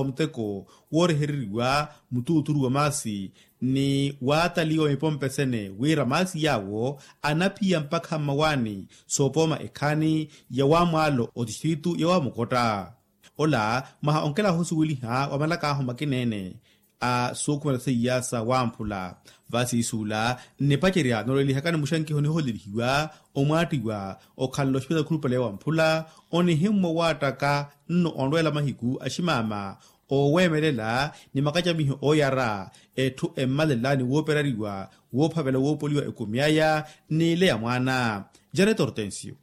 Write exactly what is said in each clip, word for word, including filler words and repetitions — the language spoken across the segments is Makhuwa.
muteko woorehereriwa mutuuturu wa maasi ni waataliwa mipompe sene wira maasi yaawo anaphiya mpakha mmawaani soopooma ekhaani ya wamwaalo otistritu ya wamukotta. Ola mwaha onkelaho osuweliha wa malakaahu makina-ene a sookhumela seiya sa wamphula. Vasiisuula nnipacerya noolelihakani muxankiho nihoolelihiwa omwaattiwa okhalela oxipitali khulupale wamphula onihimmwa owaattaka nno onrweela mahiku aximaama ooweemelela ni makacamiho ooyara etthu emmalela ni wooperariwa woophavela woopoliwa ekumi aya n'ile ya mwaana. Jareto hortensio.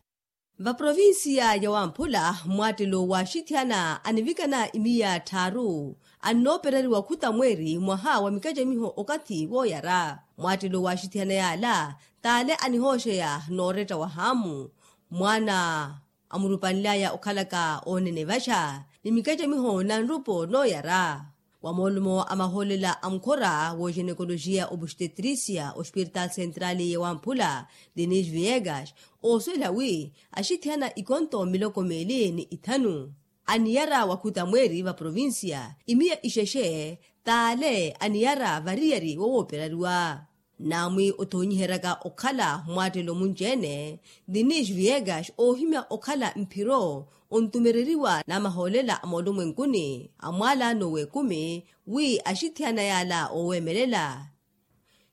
Vaprovinsiya ya wamphula mmwaattelo waaxithiyana anivikana imiya tthaaru annooperariwa khuta mweeri mwaha wa mikacamiho okathi wooyara. Mmwaattelo waaxithiyana yaala t'ale anihooxeya nooretta wa haamu mwaana amurupanly'aya okhalaka oonene vaxa ni mikacamiho na nrupo nooyara. Wa moolumo a mahoolela a mukhora w'oxenekoloxiya obustetrisia ospiritaali sentrali ya wamphula, denis viegas oosuwela wi axithiyana ikonto miloko meeli ni ithanu aniyara wakhuta mweeri vaprovinsiya imiya ixexe t'ale aniyara variyari wowooperariwa. Naamwi othoonyiheryaka okhala mmwaattelo munci-ene, denis viegas oohimya okhala mphiro ontumereriwa n'amahoolela a moolumwenkuni a mwaalaano w'ekumi wi axithiyana yaala ooweemelela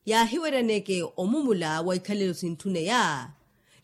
yaahiweryaneke omumula wa ikhalelo sintthune ya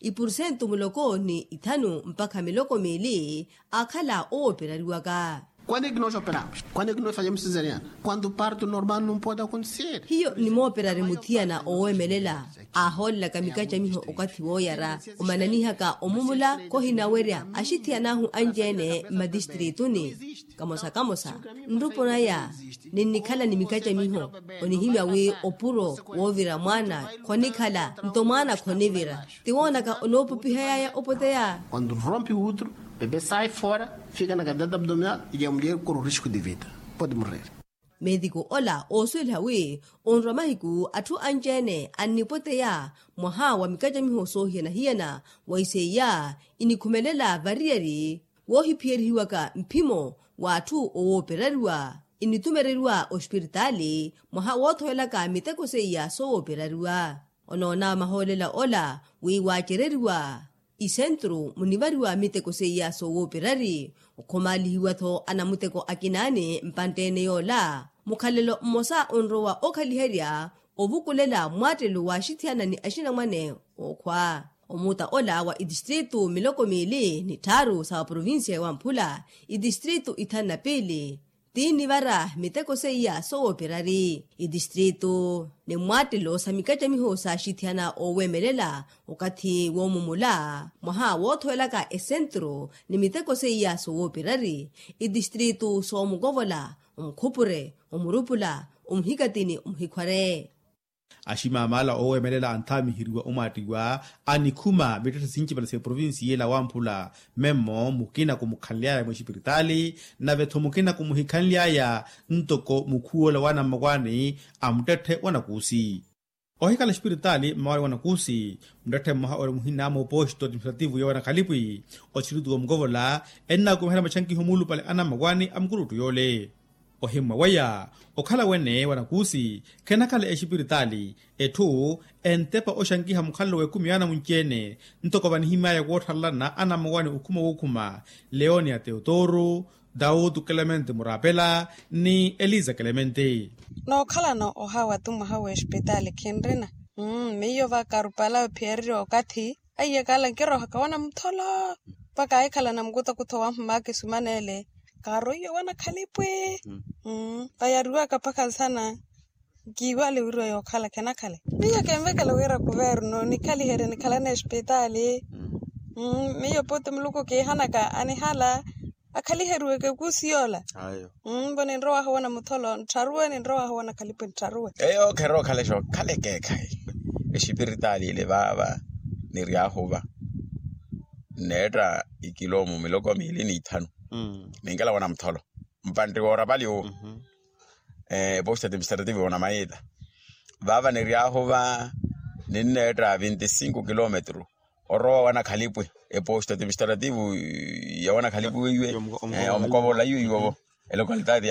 ipursentu muloko ni ithanu mpakha miloko miili aakhala owooperariwaka. Quando é que nós operamos? Quando é que nós fazemos cesariana? Quando o parto normal não pode acontecer. Hiyo nimooperari muthiyana oweemelela aahoolelaka mikacamiho okathi wooyara omananihaka omumula. Khohinawerya axithiyan'ahu anci-ene mmatistriituni kamosa kamosa nrupo naya ninnikhala ni mikacamiho onihimya wi opuro woovira mwaana khonikhala nto mwaana khonivira. Ti woonaka onoopupihayaya opoteya. Quando rompe o útero, bebê sai fora, fica na cavidade abdominal e a mulher corre o risco de vida, pode morrer. Meetiku ola oosuweliha wi onrwa mahiku atthu anci-ene annipoteya mwaha wa mikacamiho soohiyana-hiyana wa iseiya inikhumelela variyari woohiphiyerihiwaka mphimo w'atthu owooperariwa initumereriwa ospiritaali mwaha woothowelaka miteko seiya sowooperariwa. Onoona mahoolela ola wi waacereriwa isentru munivariwa miteko seiya sowooperari okhomaalihiwa-tho anamuteko akinaani mpantte-ene yoola mukhalelo mmosa onrowa okhaliherya ovukulela mmwattelo waaxithiyana ni axinamwane ookhwa. Omuuta ola wa itistritu miloko miili ni tthaaru sa provincia ya wamphula itistritu ithanu na piili tiinivara miteko seiya sowooperari itistritu ni mmwattelo sa mikacamiho saaxithiyana ooweemelela okathi woomumula mwaha woothowelaka esentru ni miteko seiya sowooperari itistritu soomukovola omukhupure omurupula omuhikatini omuhikhware. Aximamala ooweemelela anthaamiheriwa omwaattiwa anikhuma mittetthe sincipale sa eprovinsi yeela wamphula memmo mukina khumukhanly'aya mwexipiritaali nave-tho mukina khumuhikhanly'aya ntoko mukhuwola waanammakwani a muttetthe wa nakuusi. Ohikhala exipiritaali mmawaani wa nakuusi muttetthe mmoha ori muhina mooposto administrativu ya wanakhalipi othirituwa omukovola ennaakumiherya maxankiho muulupale anammakwani a mukuruttu yoole. Ohimmwa weya okhala wene wa nakuusi khenakhala exipiritaali etthu entepa oxankiha mukhalelo w'ekumi yaana munci-ene ntoko vanihimy'aya wootthalalana anammakwani okhuma wookhuma leonia teotoro dautu clemente murapela ni eliza clemente. Nookhalana ohawa tu mwaha w'exipitaali khinrina. Miyo vakarupala ophiyereriwa okathi aiyakala nkirohaka wana mutholo mpakha ahikhala na mukutakutho wa mhumaka esumanele kaaroiwe wana khalipwi. Vayariwaka mpakha nsana nkiiwale wiriwa yookhala khenakhale. Miyo kenvekela wira kuverno nikhaliherye nikhalana exipitaali. Miyo pooti muluku kiihanaka anihala akhaliheriweke kuusi yoola. Mbo ninrowahu wana mutholo nttharuwe ninrowahu wana khalipwi nttharuwe. Eyo kherookhala exookhale ekeekhayi exipiritaali ile vaava niryahu va nneetta ikiloomu miloko miili n'ithanu. Ninkela wana mutholo mpantti woorapali owo. Eposta administrative onamayiita vaava niryahu va ninneetta vinti cinco kilometru orowa wana khalipwi eposta administrative ya wana khalipwi weiwe omukovola iwe iwovo elocalidade.